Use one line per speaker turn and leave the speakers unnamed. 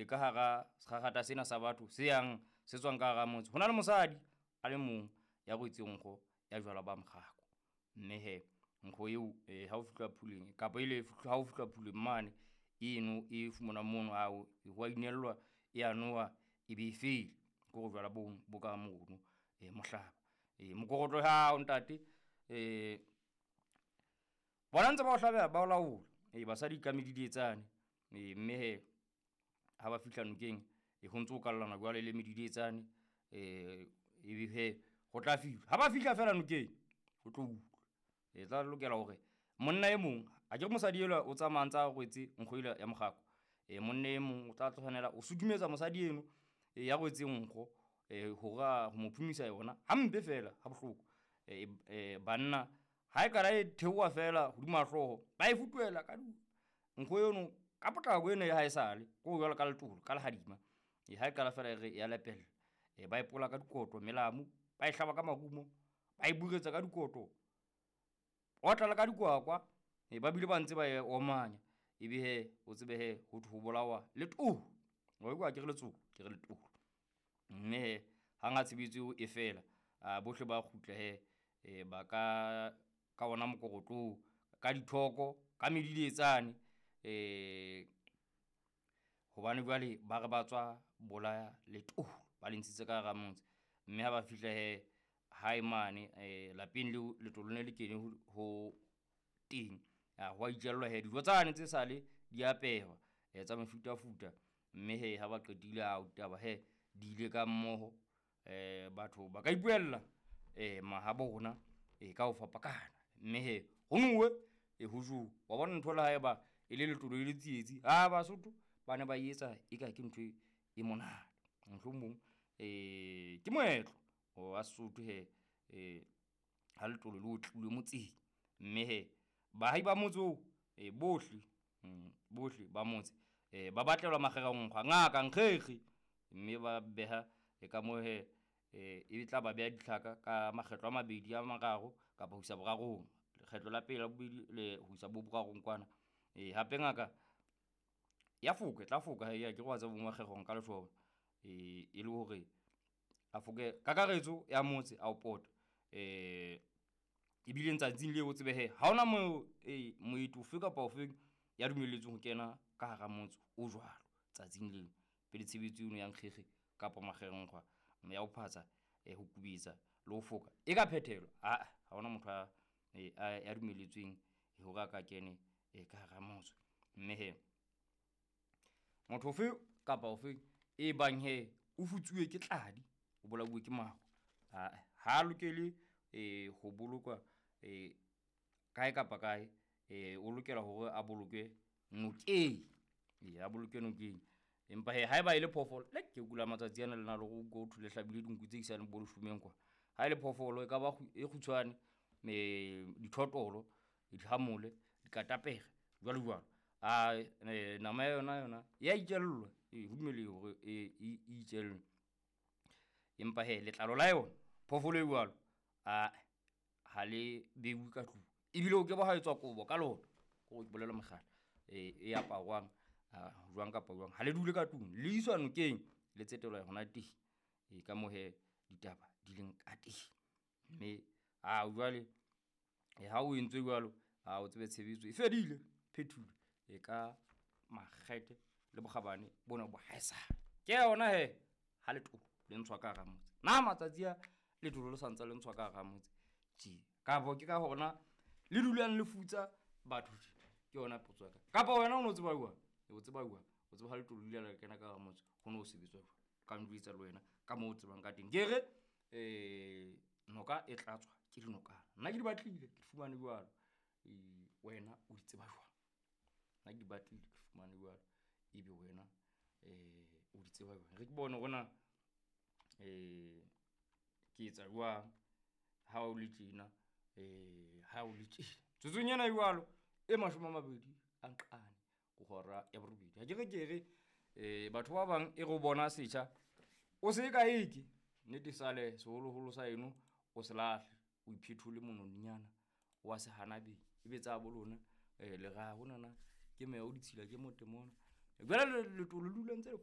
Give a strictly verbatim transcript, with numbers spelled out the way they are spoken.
ka hara sekgakgatha sena sa batho se yang se tswang ka hara motse, ho na le mosadi a le mong ya rwetseng nkgo ya jwala ba mokgako. Mme he nkgo eo ha o fihla phuleng kapa ele ha o fihla phuleng mane eno e fumanwang mono ao hwa inellwa e a nowa e be e fele. Ke hore jwala bono bo ka mono mohlaba. Mokorotlo hao ntate bona ntse ba o hlabeha ba o laola. Ee, basadi ka medidietsane. Ee, mme he ha ba fihla nokeng ho ntso kallana jwalo le medidietsane. Ebe he ho tla fihla ha ba fihla feela nokeng ho tlo utlwa. E tla lokela hore monna e mong akere mosadi elwa o tsamaya ntsa rwetse nkgo ela ya mokgako. Monna e mong o tla tshwanela o sutumetsa mosadi eno ya rwetseng nkgo hore a ho mo phomisa yona hampe fela ha bohloko. Banna ha e qala e theoha fela hodima hlooho, ba e futuhela ka nkgo eno ka potlako ena ya haesale ko jwalo ka letolo ka lehadima. E ha e qala fela e re ya lepella, ba e pola ka dikoto, melamu, ba e hlaba ka marumo, ba e buretsa ka dikoto, otla le ka dikwakwa. E ba bile ba ntse ba e omanya. Ebe he o tsebe he ho thwe ho bolawa letolo. Wa utlwa ha ke re letsoku, ke re letolo. Mme he hang ha tshebetso eo e fela, a bohle ba kgutla he ba ka ka ona mokorotlo oo, ka dithoko, ka medidietsane. Hobane jwale ba re ba tswa bolaya letolo, ba le ntshitse ka hara motse. Mme ha ba fihla he hae mane lapeng leo letolo le ne le kene ho teng. Hwa itjellwa he dijo tsane tse sale di apehwa tsa mefutafuta. Mme he ha ba qetile ao ditaba he di ile ka mmoho. Batho ba ka ipuella mahabona ka ho fapakana. Mme he ho nowe ho jowe. Wa bona ntho le haeba e le letolo e le tsietsi, ha Basotho ba ne ba etsa eka ke ntho e monate. Mohlomong ke moetlo wa Sesotho he ha letolo le otlilwe motseng. Mme he baahi ba motse oo bohle bohle ba motse ba batlelwa makgerenkgwa, ngaka nkgekge. Mme ba beha ka moo he e tla ba beha ditlhaka ka makgetlo a mabedi a mararo kapa ho isa borarong. Lekgetlo la pele, la bobedi le ho isa bo borarong kwana. E hape ngaka ya foka, e tla foka he akere wa tseba bo makgerong ka letjhoba. E le hore a foke kakaretso ya motse a o pota. Ebile tsatsing leo o tsebe he ha hona mo moeti ofe kapa ofeng ya dumelletsweng ho kena ka hara motse o jwalo tsatsing leo. Pele tshebetso eno ya nkgekge kapa makgerenkgwa ya ho phatsa, ho kubetsa le ho foka e ka phethelwa. Aa, ha hona motho a ya dumelletsweng hore a ka kene ka hara motse. Mme he motho ofe kapa ofe e bang he o futsuwe ke tladi, o bolauwe ke maru, ha ha lokele ho bolokwa kae kapa kae. O lokela hore a bolokwe nokeng. E a bolokwe nokeng. Empa he haeba e le phoofolo, le ke kula matsatsi ana le na le ho thwe le hlabile dinku tse isang bo leshomeng kwa. Ha e le phoofolo e ka ba e kgutshwane, dithotolo, dihamole, dikatapere jwalo jwalo. A nama ya yona yona ya itjellwa. E ho dumelehile hore e itjellwe. Empa he letlalo la yona phoofolo e jwalo, a ha le beuwe ka tlung. Ebile o ke ba ha etswa kobo ka lona. Ko ke bolela mokgala e aparwang jwang kapa jwang. Ha le dule ka tlung, le iswa nokeng, le tsetelwa hona teng. E ka moo he ditaba di leng ka teng. Mme a jwale ha o entswe jwalo, ha o tsebe tshebetso e fedile, phethilwe e ka makgethe le bokgabane bona bo haesale. Ke yona he ha letolo le ntshwa ka hara motse. Na matsatsi a letolo le sa ntse le ntshwa ka hara motse tje? Kapa ke ka hona le dulang le futsa batho tje? Ke yona potso ya ka. Kapa wena o no tseba jwang? O tseba jwang? O tseba ha letolo le ile la kena ka hara motse ho no sebetswa jwang? Ka njwetsa le wena ka moo o tsebang ka teng. Ke re noka e tlatswa ke dinokana. Nna ke di batlile, ke di fumane jwalo. Wena o di tseba jwang? Nna ke di batlile, ke fumane jwalo. Ebe wena o di tseba jwang? Re ke bone hore na ke etsa jwang ha o le tjena, ha o le tjena. Tsotsong ena jwalo e mashome a mabedi a nqane ho hora ya borobedi. Ha ke re ke re batho ba bang e re o bona setjha o se ka eke nnete sale seholoholo sa eno o se lahle, o iphethole mononyana wa se hana beng. Ebe tsa bo lona le ra honana ke meya o ditshila ke motemona. Jwale letolo le dula ntse le